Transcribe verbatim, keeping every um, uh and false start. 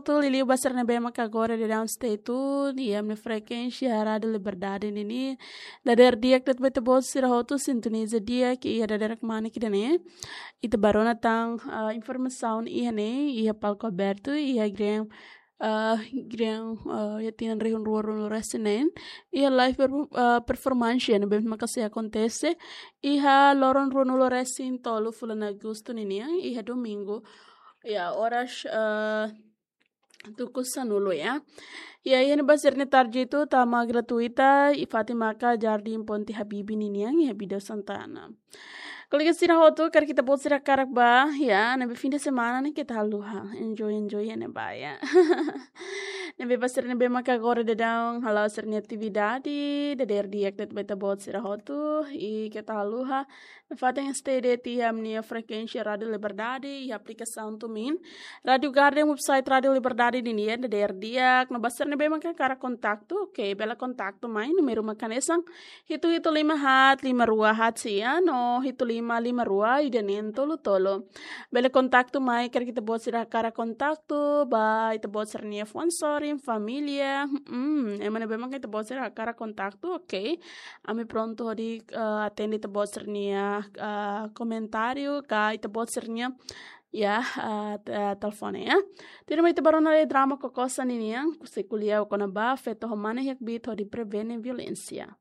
Tuir liuliu ba sira ne'ebé maka agora daudaun stay tune iha ami-nia frekuénsia Rádiu Liberdade ninian. Dadeer di'ak de'it ba ita-boot sira hotu sintoniza di'ak iha dadeer kmanek ida-ne'e. Ita bá rona tan, ah, informasaun iha ne'e, iha palku abertu, iha grian, ah, grian, ah, iha tinan rihun rua ruanulu resin neen. Iha live per-, ah, performance ne'ebé maka sei akontese iha loron ruanulu resin tolu fulan Agostu ninian, iha domingu. Ya, oras, ah, tuku sanulu ya. Ya, iha ne'ebá sira-nia tarjetu tama gratuita, iha fatin maka Jardim Ponte Habibie ninian, iha Bidau Santana. Kolega sira hotu, karik ita-boot sira hakarak bá, ya, ne'ebé fim de semana ne'e keta haluha. Enjoy, enjoy iha ne'ebá ya. Ne'ebé ba sira ne'ebé maka agora daudaun hala'o sira-nia atividade, dadeer di'ak de'it ba ita-boot sira hotu, i keta haluha. Nafatin stay de'it iha ami-nia frekuénsia Rádiu Liberdade, iha aplikasaun TuneIn. Rádiu Garden, website Rádiu Liberdade ninian, dadeer di'ak. No ba sira ne'ebé maka hakarak kontaktu, oke, bele kontaktu mai, númeru maka hanesan hitu hitu lima haat lima rua haat sia, no hitu lima lima rua ida neen tolu tolu. Bele kontaktu mai, karik ita-boot sira hakarak kontaktu ba ita-boot sira-nia fuan sorin, família, hmm, ema ne'ebé maka ita-boot sira hakarak kontaktu, oke. Ami prontu hodi, eh, atende ita-boot sira-nia, eh, komentáriu, ka ita-boot sira-nia, ya, eh, te-, eh, telefone, ya. Tuirmai ita bá rona lai drama Kokosa ninian, husi ko'alia kona-ba feto ho mane iha kbiit hodi prevene violénsia.